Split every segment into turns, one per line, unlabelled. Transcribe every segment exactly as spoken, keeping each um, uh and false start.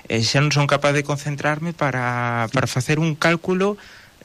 e xa non son capaz de concentrarme para, para facer un cálculo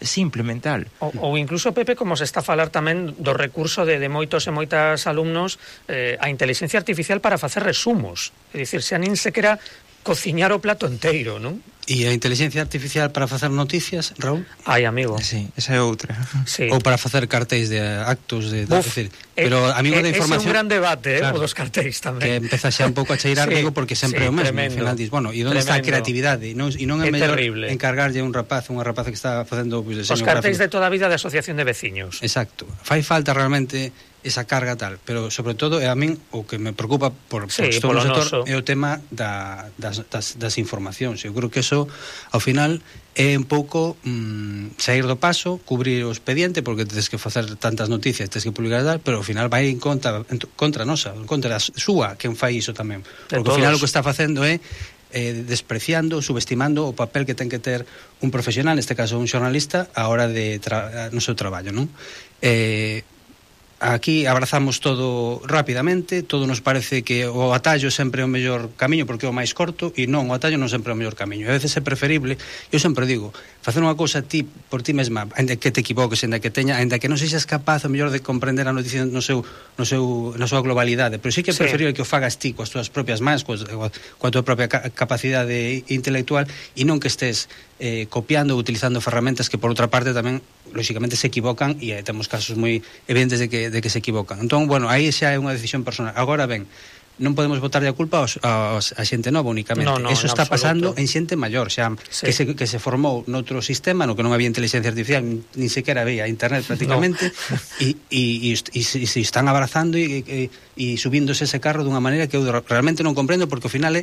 simple, mental.
Ou, ou incluso, Pepe, como se está a falar tamén do recurso de, de moitos e moitas alumnos eh, a inteligencia artificial para facer resumos. É dicir, xa nin sequera cociñar o plato enteiro, non?
E a inteligencia artificial para facer noticias, Raúl?
Ai, amigo.
Sí, esa é outra.
Sí.
Ou para facer cartéis de actos de...
Uf,
decir, pero amigo
eh,
de información...
Ese é un gran debate,
claro,
eh, o dos cartéis tamén.
Que empeza xa un pouco a cheirar,
sí,
digo, porque sempre
sí,
o mesmo.
Tremendo.
Al final dis, bueno, e onde está a creatividade? E non, e non é,
é
mellor
terrible.
encargarlle a un rapaz, unha rapaza que está facendo pues,
Os
deseño
cartéis
gráfico.
de toda a vida de asociación de veciños.
Exacto. Fai falta realmente esa carga tal, pero sobre todo, e a min, o que me preocupa por,
sí,
por estou no sector,
noso.
é o tema da, das, das, das informacións. Eu creo que eso, ao final, é un pouco mm, sair do paso, cubrir o expediente, porque tens que facer tantas noticias, tens que publicar tal, pero ao final vai en contra, en contra nosa, en contra da súa, quen fai iso tamén. Porque ao final o que está facendo é eh, despreciando, subestimando o papel que ten que ter un profesional, neste caso un xornalista, a hora de tra- no seu traballo, non? Eh, aquí abrazamos todo rapidamente, todo nos parece que o atallo sempre é o mellor camiño porque é o máis corto, e non, o atallo non sempre é o mellor camiño. E a veces é preferible, eu sempre digo, facer unha cousa ti por ti mesma, ainda que te equivoques, ainda que teña, ainda que non sexas capaz o mellor de comprender a noticia no seu, no seu, na súa globalidade, pero sí que é preferible sí. que o fagas ti coas túas propias mans, coa, coa tua propia capacidade intelectual, e non que estés eh, copiando ou utilizando ferramentas que por outra parte tamén lóxicamente se equivocan, e eh, temos casos moi evidentes de que, de que se equivocan. Entón, bueno, aí xa é unha decisión personal. Agora ben, non podemos botarlle a culpa aos, aos, a xente nova únicamente.
No, no,
eso está
absoluto.
pasando en xente maior, xa
sí.
que, se, que se formou noutro sistema no que non había inteligencia artificial, nin sequera había internet prácticamente, e no. se están abrazando e, e, e subíndose ese carro dunha maneira que eu realmente non comprendo, porque ao final é,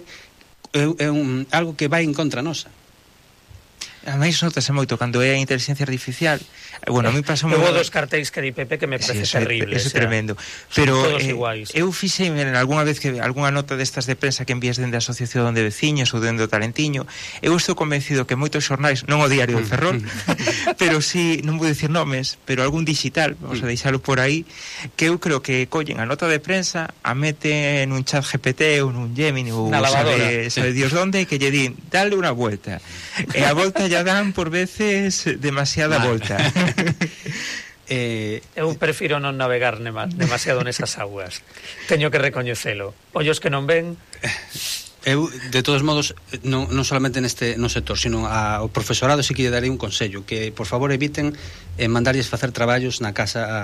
é, é un, algo que vai en contra nosa.
A máis notase moito cando é a inteligencia artificial. Bueno, a mí pasou
moi... Houve dos cartéis que di Pepe que me parece
sí,
terrible.
Eso é tremendo. Pero
eh,
eu fixei en algunha vez que algunha nota destas de prensa que envías dende a asociación de veciños ou dende o Talentiño, eu estou convencido que moitos xornais, non o Diario de Ferrol, pero sí, non vou dicir nomes, pero algún digital, vamos a deixalo por aí, que eu creo que collen a nota de prensa, a meten nun chat G P T ou nun Gemini ou sabe, sabe Dios donde, que lle din, dale unha vuelta. E a volta ya dan por veces demasiada vale. volta.
eh, eu prefiro non navegar nema, demasiado nesas aguas. Teño que recoñecelo. Ollos que non ven...
Eu, de todos modos, non, non solamente neste no sector, sino ao profesorado sí que lle darei un consello, que por favor eviten eh, mandarlles facer traballos na casa a,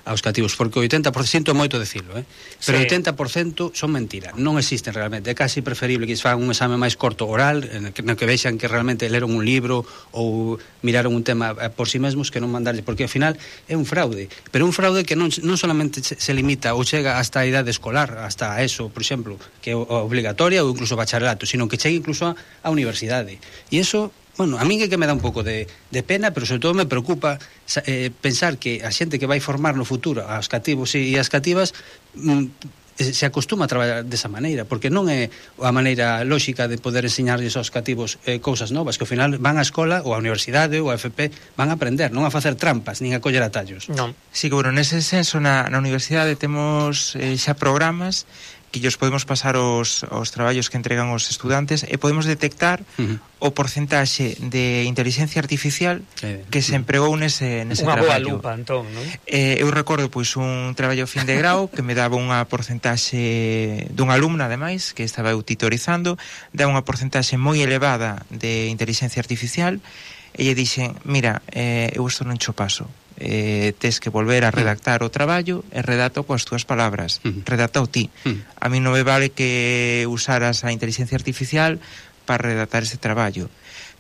aos cativos, porque o oitenta por cento é moito decirlo, eh? Pero o sí. oitenta por cento son mentira, non existen realmente. É casi preferible que fagan un exame máis corto oral, no que, no que vexan que realmente leron un libro ou miraron un tema por si sí mesmos, que non mandarlles, porque ao final é un fraude, pero un fraude que non, non solamente se limita ou chega hasta a idade escolar, hasta eso, por exemplo, que é obligatoria ou incluso bacharelato, sino que chegue incluso a, a universidade. E eso, bueno, a min é que me dá un pouco de, de pena, pero sobre todo me preocupa eh, pensar que a xente que vai formar no futuro aos cativos e as cativas mm, se acostuma a traballar desa maneira, porque non é a maneira lóxica de poder enseñarlles aos cativos eh, cousas novas, que ao final van á escola ou á universidade ou á F P, van a aprender, non a facer trampas, nin a coller atallos.
Non.
Sí, que, bueno, nese senso na, na universidade temos eh, xa programas que llos podemos pasar os, os traballos que entregan os estudantes e podemos detectar uh-huh. o porcentaxe de inteligencia artificial eh, que se empregou nese, nese
unha
traballo.
Unha boa lupa, entón, non?
Eh, eu recordo, pois, un traballo fin de grau que me daba unha porcentaxe dunha alumna, ademais, que estaba eu titorizando, daba unha porcentaxe moi elevada de inteligencia artificial, e lle dixen, mira, eh, eu isto non cho paso. Eh, tes que volver a redactar o traballo e redacta coas túas palabras, uh-huh. redacta o ti. Uh-huh. A mí non me vale que usaras a inteligencia artificial para redactar ese traballo.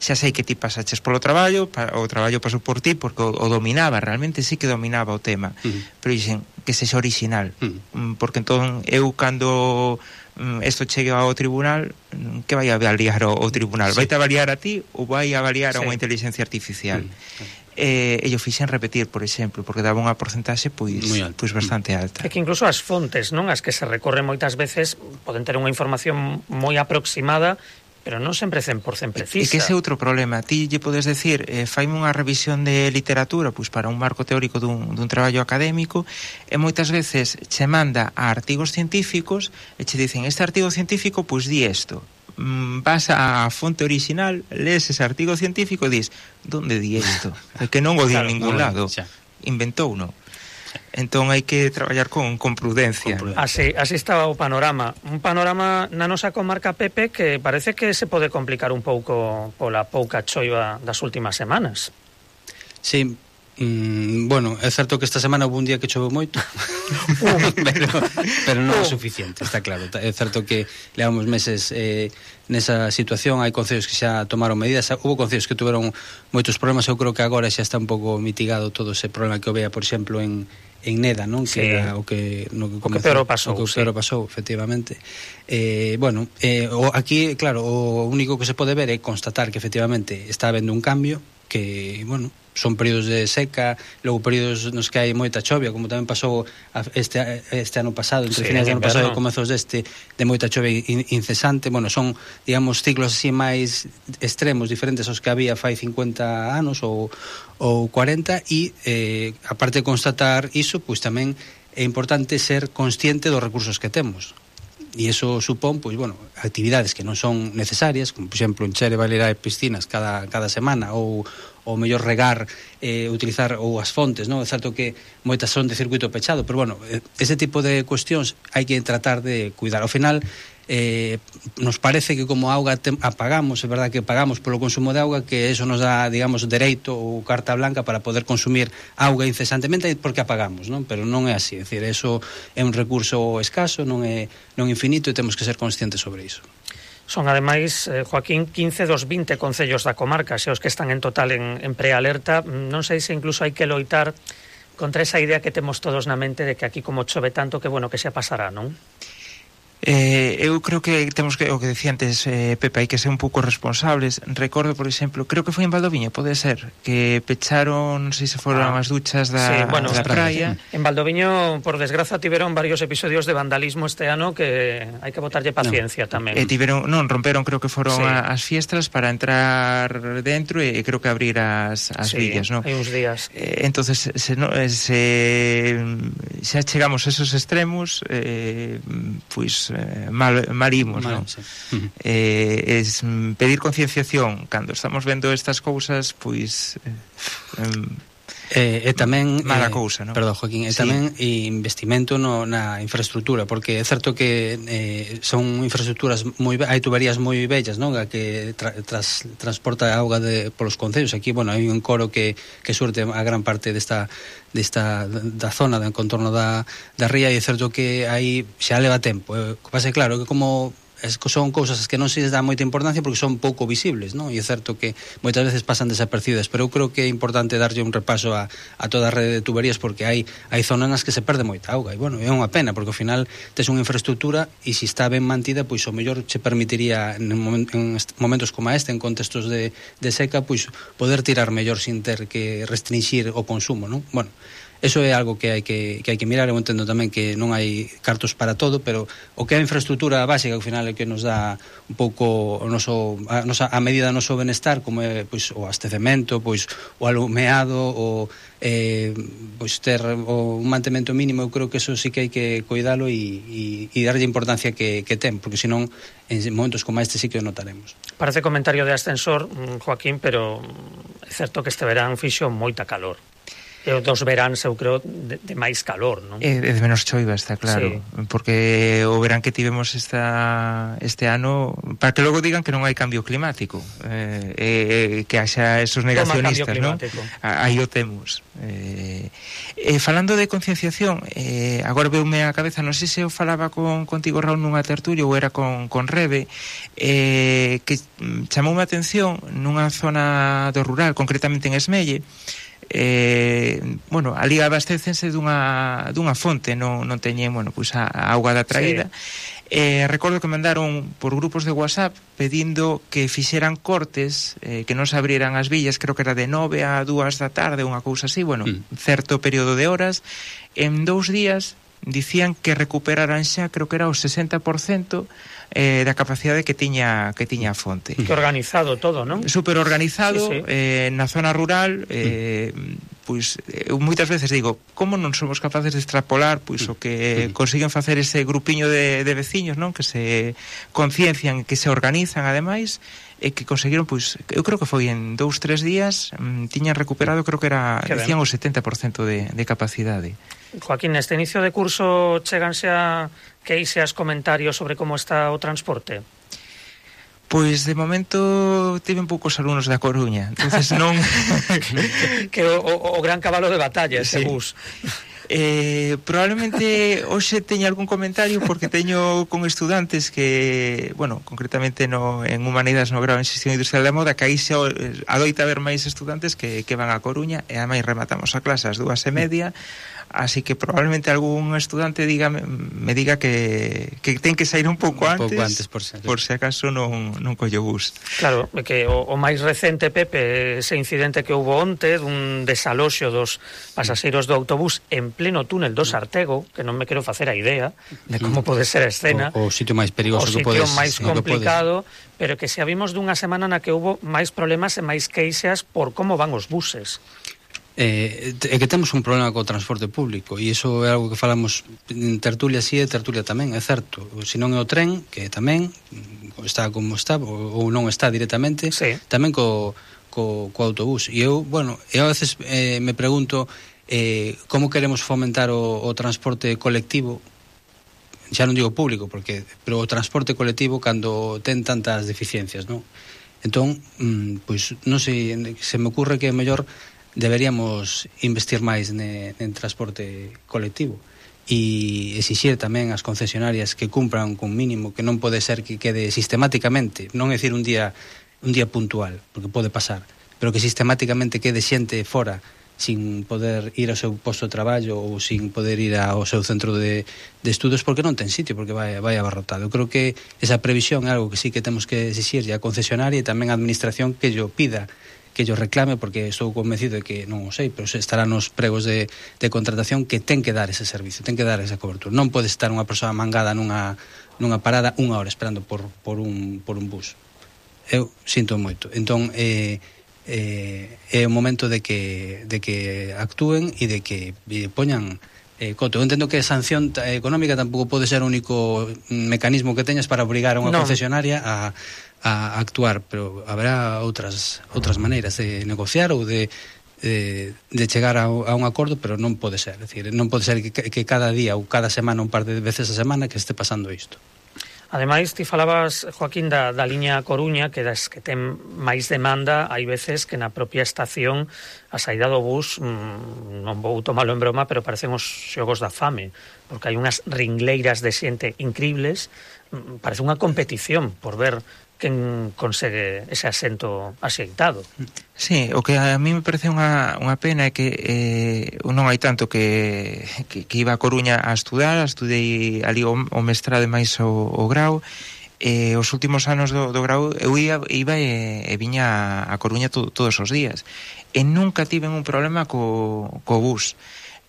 Xa sei que ti pasaches polo traballo, pa, o traballo pasou por ti porque o, o dominaba, realmente sí que dominaba o tema, uh-huh. pero dixen que sexa original, uh-huh. porque entón eu cando isto chegue ao tribunal, que vai a avaliar o, o tribunal? Sí. Vai te avaliar a ti ou vai a avaliar sí. a unha inteligencia artificial? Uh-huh. Eh, e yo fixen repetir, por exemplo, porque daba unha porcentaxe pois, pois bastante alta.
É que incluso as fontes, non, as que se recorren moitas veces poden ter unha información moi aproximada, pero non sempre cen por cento precisa.
E que ese é outro problema. Ti lle podes decir, eh, faime unha revisión de literatura pois para un marco teórico dun, dun traballo académico, e moitas veces che manda a artigos científicos e che dicen, este artigo científico pois di isto. vas á fonte original, lees ese artigo científico e dis, donde di isto? É que non o di en ningún lado, inventou, non? Entón hai que traballar con, con prudencia.
Así, así estaba o panorama. Un panorama na nosa comarca, Pepe, que parece que se pode complicar un pouco pola pouca choiva das últimas semanas.
Sí, mm, bueno, é certo que esta semana houve un día que choveu moito, pero, pero non é suficiente, está claro. É certo que levamos meses eh, nesa situación, hai concellos que xa tomaron medidas, houve concellos que tuveron moitos problemas, eu creo que agora xa está un pouco mitigado todo ese problema que houve, por exemplo, en en Neda, non?
Sí.
Que era o que no que comezou,
o que peor pasou,
o que
sí.
peor pasou, efectivamente. Eh, bueno, eh, o, aquí, claro, o único que se pode ver é constatar que efectivamente está habendo un cambio, que, bueno, son períodos de seca, logo períodos nos que hai moita chovia, como tamén pasou este, este ano pasado, entre
sí,
finais do ano pasado e
no.
comezos deste, de moita chovia incesante. Bueno, son, digamos, ciclos así máis extremos, diferentes aos que había fai cincuenta anos ou, ou cuarenta, e eh, aparte de constatar iso, pois tamén é importante ser consciente dos recursos que temos. E iso supón, pois, bueno, actividades que non son necesarias, como, por exemplo, encher e balear piscinas cada, cada semana, ou ou mellor regar, eh, utilizar ou as fontes, non? É certo que moitas son de circuito pechado, pero, bueno, ese tipo de cuestións hai que tratar de cuidar. Ao final, eh, nos parece que como auga te, apagamos, é verdad que pagamos polo consumo de auga, que eso nos dá, digamos, dereito ou carta blanca para poder consumir auga incesantemente porque apagamos, non? Pero non é así, é dicir, eso é un recurso escaso, non é non infinito, e temos que ser conscientes sobre iso.
Son, ademais, eh, Joaquín, quince dos vinte concellos da comarca, xe os que están en total en, en prealerta. Non sei se incluso hai que loitar contra esa idea que temos todos na mente de que aquí como chove tanto, que bueno, que xa pasará, non?
Eh, eu creo que temos que, o que decía antes eh, Pepe, hai que ser un pouco responsables. Recordo, por exemplo, creo que foi en Valdoviño, pode ser, que pecharon, non sei se foron ah, as duchas da,
sí, bueno,
da praia.
En Valdoviño, por desgraza, tiveron varios episodios de vandalismo este ano que hai que botarlle paciencia no. tamén.
E tiveron, non, romperon, creo que foron sí. a, as fiestras para entrar dentro e creo que abrir as, as
sí,
villas, non?
hai uns días.
Eh, entonces, se, no, se xa chegamos a esos extremos, eh, pois Eh, mal, mal imos, mal, non? Sí. Uh-huh. Eh, es pedir concienciación cando estamos vendo estas cousas, pois eh,
E, e tamén
mala
eh,
cousa, non?
Perdón, Joaquín, e
sí.
tamén investimento no, na infraestructura, porque é certo que eh, son infraestructuras moi hai tuberías moi bellas, non? A que tra, tras, transporta a auga de polos concellos. Aquí, bueno, hai un coro que, que surte a gran parte desta desta da zona do contorno da, da ría, e é certo que aí xa leva tempo. Eh, pase claro que como son cousas que non se les dá moita importancia porque son pouco visibles, non? E é certo que moitas veces pasan desapercidas, pero eu creo que é importante darlle un repaso a, a toda a rede de tuberías, porque hai hai zonas nas que se perde moita auga, e bueno, é unha pena, porque ao final tes unha infraestructura e se está ben mantida, pois o mellor che permitiría en, moment, en momentos como este, en contextos de, de seca, pois poder tirar mellor sin ter que restringir o consumo, non? Bueno, eso é algo que hai que, que hai que mirar. Eu entendo tamén que non hai cartos para todo, pero o que é a infraestructura básica, ao final é que nos dá un pouco o noso, a, nosa, a medida do noso benestar, como é pois, o abastecemento, pois, o alumeado, o eh, pois, ter o, un mantemento mínimo. Eu creo que eso sí que hai que cuidalo e, e, e darlle importancia que, que ten, porque senón en momentos como este sí que o notaremos.
Parece comentario de ascensor, Joaquín, pero é certo que este verán fixo moita calor. E os dos veráns, eu creo, de, de máis calor, non?
E de menos choiva, está claro. Sí. Porque o verán que tivemos esta, este ano, para que logo digan que non hai cambio climático, eh, eh, que haxa esos negacionistas, non? Aí o temos. Eh, eh, falando de concienciación, eh, agora veume a cabeza, non sei se eu falaba con, contigo, Raúl, nunha tertulia ou era con, con Rebe, eh, que chamoume a atención nunha zona do rural, concretamente en Esmelle. Eh, bueno, ali abastécense dunha, dunha fonte, non, non teñen, bueno, pois a, a auga da traída. Sí. Eh, recordo que mandaron por grupos de WhatsApp pedindo que fixeran cortes, eh, que non se abrieran as villas, creo que era de nove a dúas da tarde, unha cousa así, bueno, mm. certo período de horas. En dous días dicían que recuperaran xa, creo que era o sesenta por cento eh, da capacidade que tiña que tiña a fonte.
Que organizado todo, non?
Super organizado, sí, sí. Eh, na zona rural, eh, pois eu moitas veces digo, como non somos capaces de extrapolar pois o que consiguen facer ese grupiño de, de veciños, non? Que se conciencian, que se organizan ademais, e que conseguiron, pois, eu creo que foi en dous, tres días, mm, tiñan recuperado, creo que era, que decían o setenta por cento de, de capacidade.
Joaquín, neste inicio de curso cheganse a queixas, comentarios sobre como está o transporte?
Pois de momento tiven poucos alumnos da Coruña, entonces non...
que o, o, o gran cabalo de batalla ese sí. bus.
Eh, probablemente hoxe teña algún comentario porque teño con estudantes que, bueno, concretamente no, en Humanidades no grau en Xestión Industrial da Moda, que aí xa adoita haber máis estudantes que, que van a Coruña, e ademais rematamos a clase ás dúas e media, así que probablemente algún estudante diga, me diga que, que ten que sair un pouco antes,
un pouco antes por, si
por se acaso non, non collo bus.
Claro, que o, o máis recente, Pepe, ese incidente que houve onte dun desaloxo dos pasaxeiros do autobús en pleno túnel do Sartego, que non me quero facer a idea de como pode ser a escena,
o, o sitio máis perigoso
o
que podes,
sitio máis complicado, pero que se vimos dunha semana na que houve máis problemas e máis queixas por como van os buses.
Eh, é que temos un problema co transporte público, e iso é algo que falamos en tertulia sí e tertulia tamén, é certo. Se non é o tren, que tamén está como está, ou non está directamente,
sí.
Tamén co, co, co autobús. E eu, bueno, eu a veces eh, me pregunto eh, como queremos fomentar o, o transporte colectivo, xa non digo público, porque pero o transporte colectivo cando ten tantas deficiencias, non? Entón, mm, pois non sei, se me ocurre que é mellor deberíamos investir máis ne, en transporte colectivo e exixir tamén as concesionarias que cumpran con mínimo, que non pode ser que quede sistemáticamente, non é dicir un día un día puntual, porque pode pasar, pero que sistemáticamente quede xente fora sin poder ir ao seu posto de traballo ou sin poder ir ao seu centro de, de estudos porque non ten sitio, porque vai, vai abarrotado. Eu creo que esa previsión é algo que sí que temos que exixir a concesionaria e tamén a administración que yo pida, que yo reclame, porque estou convencido de que, non o sei, pero estará nos pregos de, de contratación que ten que dar ese servicio, ten que dar esa cobertura. Non pode estar unha persoa mangada nunha, nunha parada unha hora esperando por, por, un, por un bus. Eu sinto moito. Entón, eh, eh, é o momento de que, de que actúen e de que eh, poñan eh, coto. Eu entendo que a sanción económica tampouco pode ser o único mecanismo que teñas para obrigar a unha no. concesionaria a a actuar, pero haberá outras outras maneiras de negociar ou de de, de chegar a, a un acordo, pero non pode ser, é dicir, non pode ser que, que cada día ou cada semana, un par de veces a semana que este pasando isto.
Ademais, ti falabas, Joaquín, da, da liña Coruña, que das que ten máis demanda, hai veces que na propia estación a saída do bus, mmm, non vou tomalo en broma, pero parecen os xogos da fame, porque hai unhas ringleiras de xente incribles, mmm, parece unha competición por ver quen consegue ese asento axeitado.
Sí, o que a mí me parece unha, unha pena é que eh, non hai tanto que, que, que iba a Coruña a estudar, estudei ali o, o mestrado e máis o, o grau, e os últimos anos do, do grau eu ia, iba e, e viña a Coruña to, todos os días, e nunca tiven un problema co, co bus.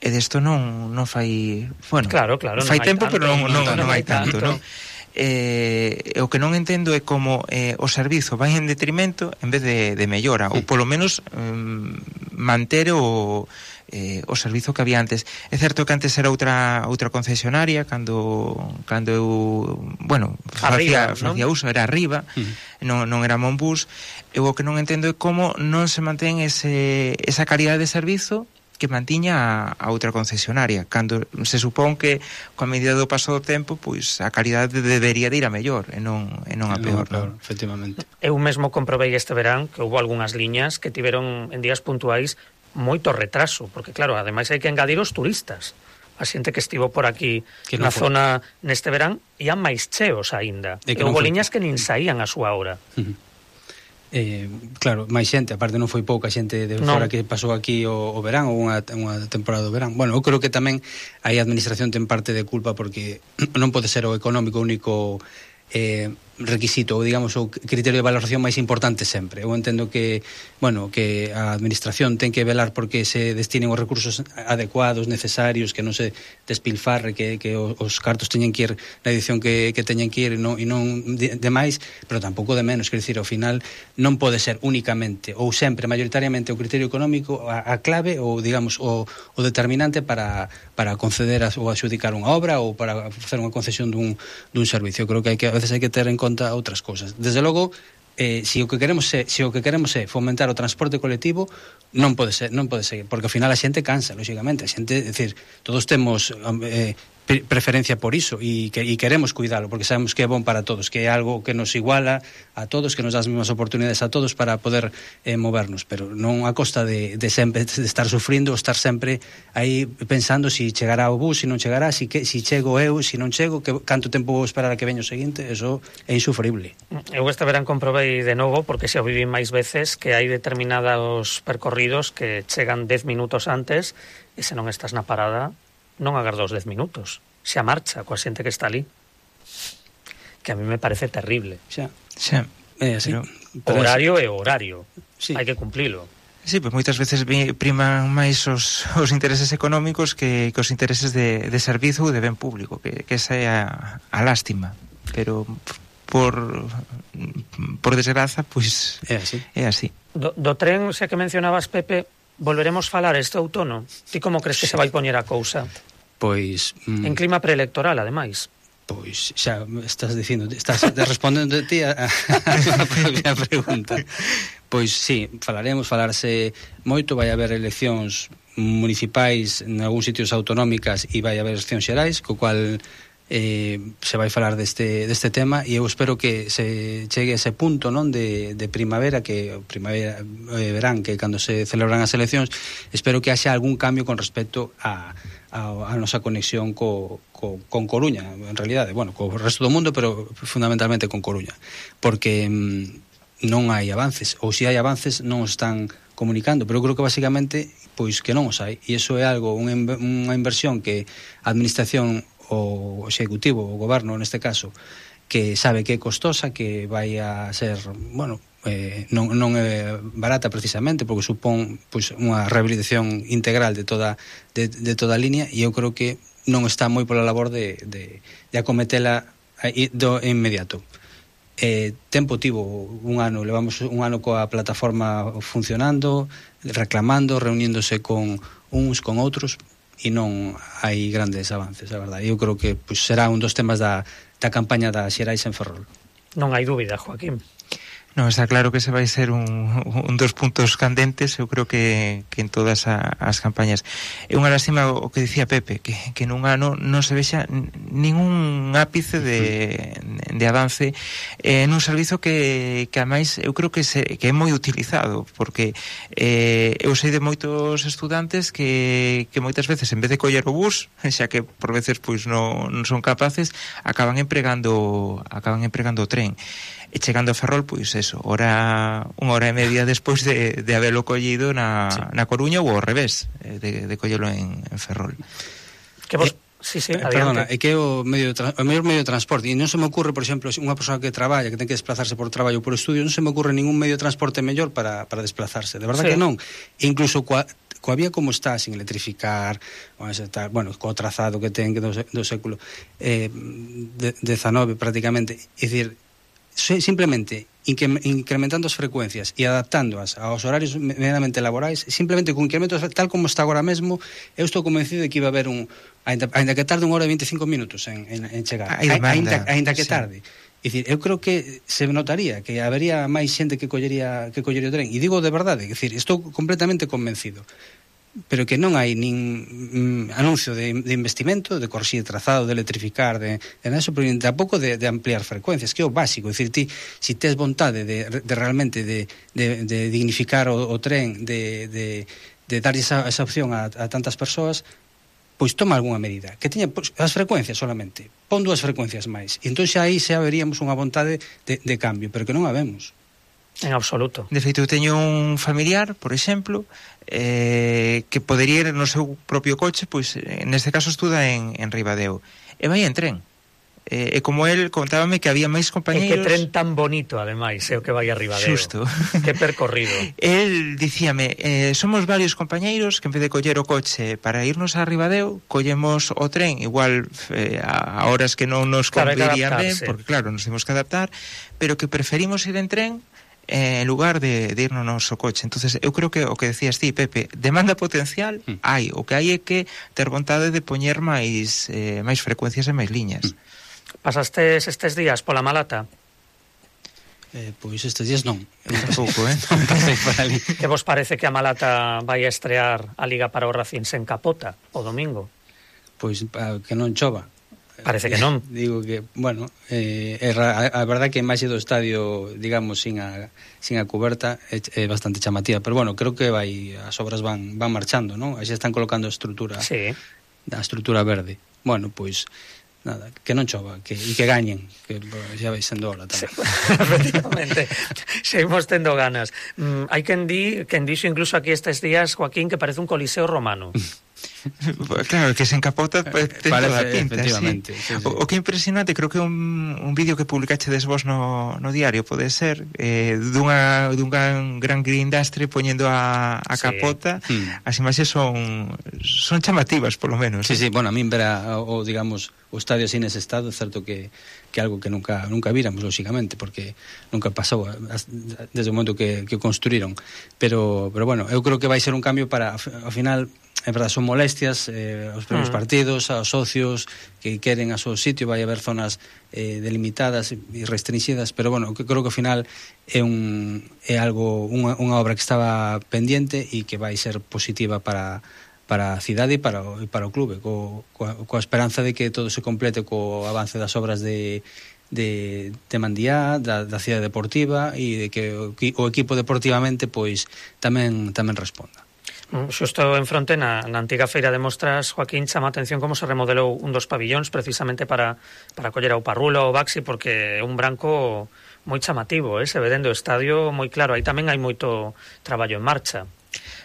E desto non, non fai... Bueno,
claro, claro,
fai tempo,
tanto,
pero non, non, non, non hai tanto,
tanto.
non? Eh, o que non entendo é como eh, o servizo vai en detrimento en vez de, de mellora, sí. Ou polo menos um, manter o, eh, o servizo que había antes. É certo que antes era outra outra concesionaria cando cando eu, bueno, facía, facía uso, era arriba, uh-huh. non, non era Monbus. Eu o que non entendo é como non se mantén ese, esa calidade de servizo que mantiña a, a outra concesionaria, cando se supón que coa medida do paso do tempo, pois a calidade debería de ir a mellor e non, e non a peor,
non, efectivamente.
Eu mesmo comprobei este verán que houve algunhas liñas que tiveron en días puntuais moito retraso, porque claro, ademais hai que engadir os turistas. A xente que estivo por aquí que na foi. Zona neste verán ian máis cheos aínda. E, e houve liñas que nin saían a súa hora.
Uh-huh. Eh, claro, máis xente, aparte non foi pouca xente de fora que pasou aquí o, o verán ou unha, unha temporada do verán. Bueno, eu creo que tamén aí a administración ten parte de culpa porque non pode ser o económico único eh, requisito ou digamos o criterio de valoración máis importante sempre. Eu entendo que, bueno, que a administración ten que velar porque se destinen os recursos adecuados, necesarios, que non se despilfarre, que, que os cartos teñen que ir na edición que, que teñen que ir e non, e non de, de máis, pero tampouco de menos, quer dicir, ao final non pode ser únicamente ou sempre mayoritariamente o criterio económico a, a clave ou digamos o, o determinante para, para conceder a, ou adxudicar unha obra ou para facer unha concesión dun, dun servicio. Eu creo que, hai que a veces hai que ter en conta outras cousas. Desde logo, eh, se o que queremos é, se o que queremos é fomentar o transporte colectivo, non pode ser, non pode ser, porque ao final a xente cansa, lógicamente, a xente, é dicir, todos temos eh, preferencia por iso e, que, e queremos cuidalo porque sabemos que é bon para todos, que é algo que nos iguala a todos, que nos dá as mesmas oportunidades a todos para poder eh, movernos, pero non a costa de, de sempre de estar sufrindo ou estar sempre aí pensando si chegará o bus, si non chegará, si, que, si chego eu, si non chego, que, canto tempo vou esperar a que veño o seguinte. Eso é insufrible.
Eu este verán comprobei de novo, porque xa o viví máis veces, que hai determinados percorridos que chegan dez minutos antes e se non estás na parada non agarda os dez minutos, xa marcha coa xente que está ali, que a mí me parece terrible.
Xa,
xa.
É así.
Pero, pero horario é horario,
sí.
Hai que cumplilo.
Sí, pois moitas veces priman máis os, os intereses económicos que, que os intereses de, de servizo ou de ben público, que, que esa é a, a lástima, pero por por desgraza, pois
é así.
É así.
Do, do tren, xa que mencionabas, Pepe, volveremos falar este outono. Ti como crees que se vai poñer a cousa?
Pois... Mm,
en clima preelectoral, ademais.
Pois xa estás dicindo, estás respondendo de ti a, a, a propia pregunta. Pois sí, falaremos, falarse moito, vai haber eleccións municipais en algúns sitios autonómicas e vai haber eleccións xerais, co cual eh, se vai falar deste, deste tema e eu espero que se chegue a ese punto, non, de, de primavera, que primavera eh, verán, que cando se celebran as eleccións, espero que haxa algún cambio con respecto a a, a nosa conexión co, co, con Coruña, en realidade, bueno, co resto do mundo, pero fundamentalmente con Coruña, porque mm, non hai avances, ou se hai avances non os están comunicando, pero eu creo que basicamente pois que non os hai, e iso é algo, unha, unha inversión que a administración, o executivo, o goberno neste caso, que sabe que é costosa, que vai a ser, bueno, eh, non, non é barata precisamente, porque supón pois, unha rehabilitación integral de toda, de, de toda a línea, e eu creo que non está moi pola labor de, de, de acometela do inmediato. Eh, tempo tivo un ano, levamos un ano coa plataforma funcionando, reclamando, reuníndose con uns con outros, e non hai grandes avances, a verdade. Eu creo que pois, será un dos temas da, da campaña da Xerais en Ferrol.
Non hai dúbida, Joaquín.
Non, está claro que ese vai ser un, un dos puntos candentes, eu creo que, que en todas a, as campañas. É unha lástima o que dicía Pepe, que, que nun ano non se vexa ningún ápice de, de avance eh, nun servizo que, que ademais eu creo que, se, que é moi utilizado, porque eh, eu sei de moitos estudantes que, que moitas veces en vez de coller o bus, xa que por veces pois non, non son capaces, acaban empregando acaban empregando o tren. E chegando a Ferrol, pois eso, hora, unha hora e media despois de, de habelo collido na, sí. na Coruña ou ao revés, de, de collelo en, en Ferrol.
Que vos...
Eh,
sí, sí,
eh, perdona, é que é o, medio de, o mellor medio de transporte, e non se me ocurre, por exemplo, unha persoa que traballa, que ten que desplazarse por traballo ou por estudio, non se me ocurre ningún medio de transporte mellor para, para desplazarse, de verdad sí. que non. E incluso coa, coa vía como está, sin electrificar, bueno, co trazado que ten do, do século eh, dezanove prácticamente, é dicir, simplemente incrementando as frecuencias e adaptándoas aos horarios medianamente laborais, simplemente con incrementos tal como está agora mesmo, eu estou convencido de que iba a haber un, ainda, ainda que tarde unha hora e veinticinco minutos en, en, en chegar, ainda, ainda que tarde. É dicir, eu creo que se notaría que habería máis xente que collería que collería o tren, e digo de verdade, é dicir, estou completamente convencido, pero que non hai nin mm, anuncio de, de investimento, de corxir trazado, de electrificar, de, de eso, pero tampouco de, de ampliar frecuencias, que é o básico. É dicir, ti, si tes vontade de, de realmente de, de, de dignificar o, o tren, de, de, de dar esa, esa opción a, a tantas persoas, pois toma algunha medida, que teña pois, as frecuencias solamente, pon dúas frecuencias máis, e entón xa aí xa veríamos unha vontade de, de cambio, pero que non a vemos.
En absoluto.
De feito, eu teño un familiar, por exemplo, eh, que podería ir no seu propio coche, pois neste caso estuda en, en Ribadeo, e vai en tren. E, e como el contábame que había máis compañeiros...
E que tren tan bonito, ademais, é o que vai a Ribadeo.
Xusto.
Que percorrido.
El dicíame, eh, somos varios compañeiros que en vez de coller o coche para irnos a Ribadeo, collemos o tren, igual eh, a horas que non nos convirían ben, porque claro, nos temos que adaptar, pero que preferimos ir en tren eh, en lugar de, de ir no noso coche. Entonces eu creo que o que decías ti, Pepe, demanda potencial mm. hai, o que hai é que ter vontade de poñer máis eh, máis frecuencias e máis liñas.
Mm. Pasastes estes días pola Malata?
Eh, pois estes días non.
Tampouco, eh?
Non pasei por ali.
Que vos parece que a Malata vai a estrear a Liga para o Racing sen capota o domingo?
Pois que non chova.
Parece que non.
Digo que, bueno, eh, a, a verdad que a imaxe do estadio, digamos, sin a, sin a coberta é, é bastante chamativa, pero bueno, creo que vai as obras van van marchando, non? Aí xa están colocando a estrutura,
sí.
A estrutura verde. Bueno, pois nada, que non chova, que, e que gañen, que xa vai sendo hora tamén.
Sí, efectivamente, seguimos tendo ganas. Mm, hai quen di, quen dixo incluso aquí estes días, Joaquín, que parece un coliseo romano.
Claro, que se encapota pues, ten
parece,
toda a pinta,
efectivamente,
sí.
Sí, sí.
O, o que é impresionante, creo que un, un vídeo que publicachedes vos no, no diario, pode ser, eh, dunha, dun gran, gran guindastre poñendo a, a sí. capota, mm. as imaxes son son chamativas, por lo menos.
Sí, sí, bueno, a min ver a, o, digamos, o estadio así nese estado, é certo que que algo que nunca nunca víramos, lógicamente, porque nunca pasou desde o momento que, que construíron, pero, pero bueno, eu creo que vai ser un cambio para, ao final, é verdade, son molestias eh, os primeiros mm. partidos, aos socios que queren a seu sitio, vai haber zonas eh, delimitadas e restringidas, pero bueno, que creo que ao final é un é algo unha, unha obra que estaba pendiente e que vai ser positiva para para a cidade e para o, e para o clube, co, coa, coa esperanza de que todo se complete co avance das obras de de, de Mandiá, da, da cidade deportiva e de que o, o equipo deportivamente pois tamén tamén responda.
Xusto en fronte na, na antiga feira de mostras, Joaquín, chama a atención como se remodelou un dos pabillóns precisamente para, para coller ao Parrulo ou Baxi, porque é un branco moi chamativo, eh? Se ve dentro do estadio moi claro, aí tamén hai moito traballo en marcha.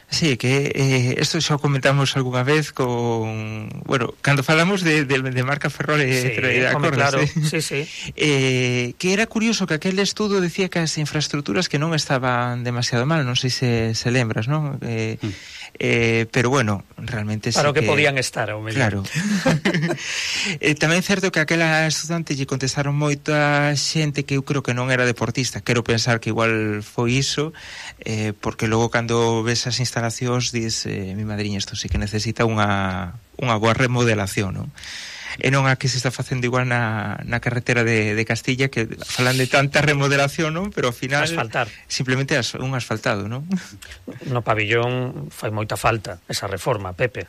Sí, que eh, esto xa comentamos algunha vez con... Bueno, cando falamos de, de, de marca Ferrol
sí,
de acordes,
claro,
eh?
sí, sí.
Eh, que era curioso que aquel estudo decía que as infraestructuras que non estaban demasiado mal, non sei se, se lembras, non? Eh, mm. eh, pero bueno, realmente
para
sí
o que,
que
podían estar, ao mellor.
Claro. eh, tamén é certo que aquela estudante lle contestaron moita xente que eu creo que non era deportista, quero pensar que igual foi iso, eh, porque logo cando ves as instalacións instalacións dis, eh, mi madriña, isto sí que necesita unha, unha boa remodelación, non? E non a que se está facendo igual na, na carretera de, de Castilla, que falan de tanta remodelación, non? Pero ao final
asfaltar.
Simplemente as, un asfaltado, non?
No pabillón fai moita falta esa reforma, Pepe.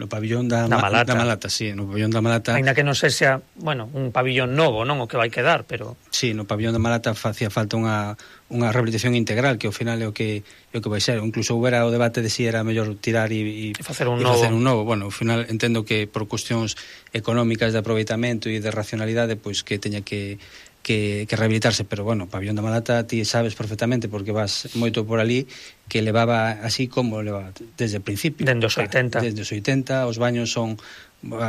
No pabillón da,
da, Malata.
da Malata, sí, no pabillón da Malata.
Ainda que non se xa, bueno, un pabillón novo, non o que vai quedar, pero
sí, no pabillón da Malata facía falta unha unha rehabilitación integral, que ao final é o que é o que vai ser. Incluso houbera o debate de si era mellor tirar e, e,
e facer un
e
novo.
facer un novo. Bueno, ao final entendo que por cuestións económicas de aproveitamento e de racionalidade, pois que teña que que, que rehabilitarse, pero bueno, o pabillón da Malata ti sabes perfectamente, porque vas moito por ali, que levaba así como levaba desde o principio.
Dende os oitenta.
Desde os oitenta, os baños son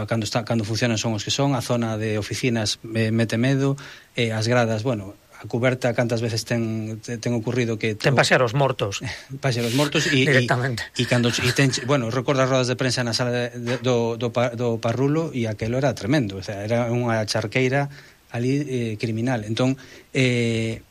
cando está cando funcionan son os que son, a zona de oficinas eh, mete medo, e eh, as gradas, bueno, a cuberta cantas veces ten ten ocurrido que
ten pasear os mortos.
Pasear os mortos e
directamente.
E cando e ten, bueno, recordo as rodas de prensa na sala de, de, do, do do Parrulo e aquelo era tremendo, o sea, era unha charqueira ali eh, criminal. Entón eh,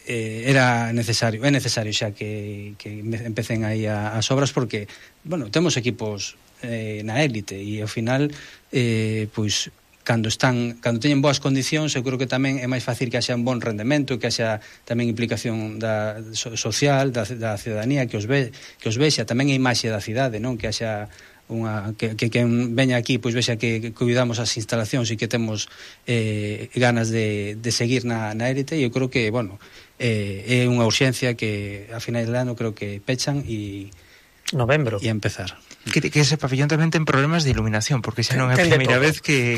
eh, era necesario, é necesario xa que, que empecen aí a, as obras, porque, bueno, temos equipos eh, na élite e ao final eh, pois cando están, cando teñen boas condicións, eu creo que tamén é máis fácil que haxa un bon rendemento, que haxa tamén implicación da so, social, da, da ciudadanía, que os ve, que os vexa tamén a imaxe da cidade, non? Que haxa unha que que quen veña aquí pois vexa que, que cuidamos as instalacións e que temos eh, ganas de, de seguir na, na élite, e eu creo que, bueno, eh, é unha urxencia que a final do ano creo que pechan e
novembro
e empezar.
Que, que ese pabillón tamén ten problemas de iluminación, porque xa non é a primeira vez que,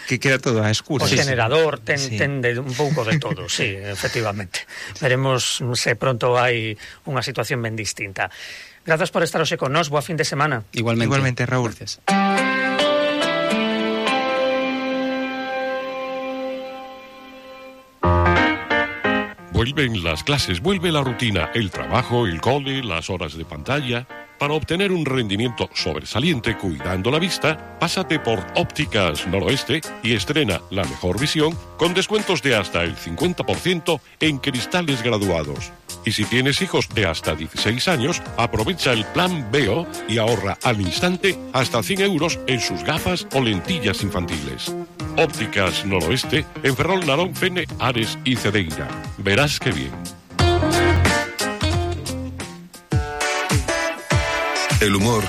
que queda todo a escuro.
O
sí,
generador ten,
sí.
ten de un pouco de todo, sí, efectivamente. Veremos se pronto hai unha situación ben distinta. Grazas por estar hoxe con nós, boa fin de semana.
Igualmente,
Igualmente, Raúl.
Gracias.
Vuelven las clases, vuelve la rutina, el trabajo, el cole, las horas de pantalla. Para obtener un rendimiento sobresaliente cuidando la vista, pásate por Ópticas Noroeste y estrena la mejor visión con descuentos de hasta el cincuenta por ciento en cristales graduados. Y si tienes hijos de hasta dieciséis años, aprovecha el plan Veo y ahorra al instante hasta cien euros en sus gafas o lentillas infantiles. Ópticas Noroeste en Ferrol, Narón, Fene, Ares y Cedeira. Verás qué bien.
El humor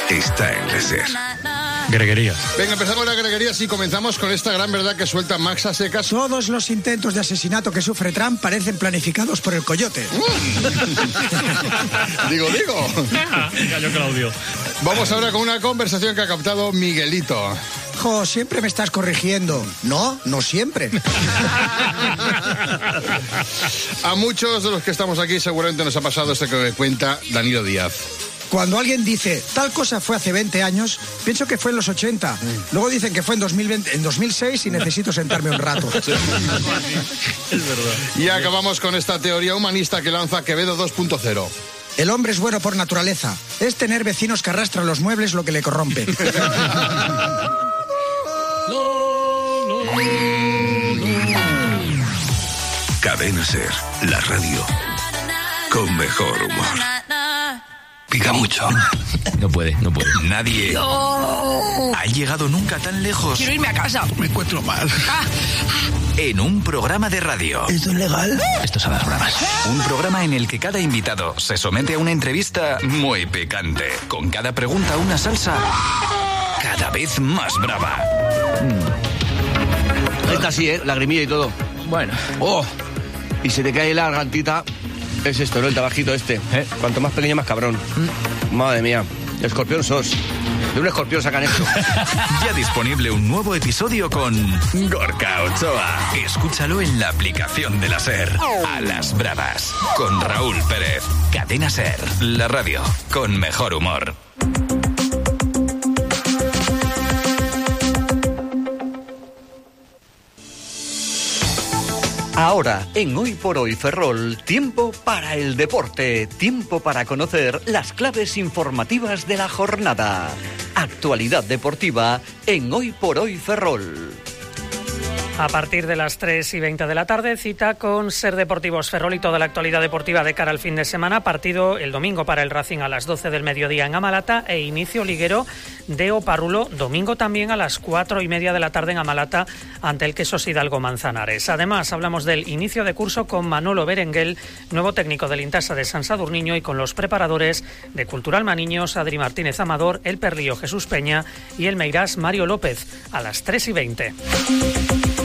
está en la SER.
Greguerías.
Venga, empezamos la greguerías y comenzamos con esta gran verdad que suelta Max a secas.
Todos los intentos de asesinato que sufre Trump parecen planificados por el coyote.
digo, digo.
Cayó Claudio.
Vamos ahora con una conversación que ha captado Miguelito.
Jo, siempre me estás corrigiendo. No, no siempre.
A muchos de los que estamos aquí seguramente nos ha pasado esto que me cuenta Danilo Díaz.
Cuando alguien dice, tal cosa fue hace veinte años, pienso que fue en los ochenta. Luego dicen que fue en dos mil veinte, en dos mil seis y necesito sentarme un rato.
Es verdad.
Y acabamos con esta teoría humanista que lanza Quevedo dos punto cero.
El hombre es bueno por naturaleza. Es tener vecinos que arrastran los muebles lo que le corrompe.
Cadena SER, la radio con mejor humor. Pica mucho.
No puede, no puede.
Nadie
no.
ha llegado nunca tan lejos.
Quiero irme a casa.
Me encuentro mal.
Ah.
En un programa de radio.
¿Esto es legal?
Estos son las bromas.
Un programa en el que cada invitado se somete a una entrevista muy picante. Con cada pregunta una salsa cada vez más brava.
Mm. Esta sí, ¿eh? Lagrimilla y todo.
Bueno.
Oh, y se te cae la gargantita. Es esto, ¿no? El tabajito este. ¿Eh? Cuanto más pequeño, más cabrón. Mm. Madre mía. Escorpión sos. De un escorpión sacan esto.
Ya disponible un nuevo episodio con Gorka Ochoa. Escúchalo en la aplicación de la SER. A las bravas. Con Raúl Pérez. Cadena SER. La radio con mejor humor.
Ahora, en Hoy por Hoy Ferrol, tiempo para el deporte, tiempo para conocer las claves informativas de la jornada. Actualidad deportiva en Hoy por Hoy Ferrol.
A partir de las tres y veinte de la tarde, cita con Ser Deportivos Ferrol y toda la actualidad deportiva de cara al fin de semana. Partido el domingo para el Racing a las doce del mediodía en Amalata e inicio liguero de Oparrulo, domingo también a las cuatro y media de la tarde en Amalata ante el Quesos Hidalgo Manzanares. Además, hablamos del inicio de curso con Manolo Berenguel, nuevo técnico del Intasa de San Sadurniño, y con los preparadores de Cultural Maniños, Adri Martínez Amador, el Perlío Jesús Peña y el Meirás Mario López, a las tres y veinte.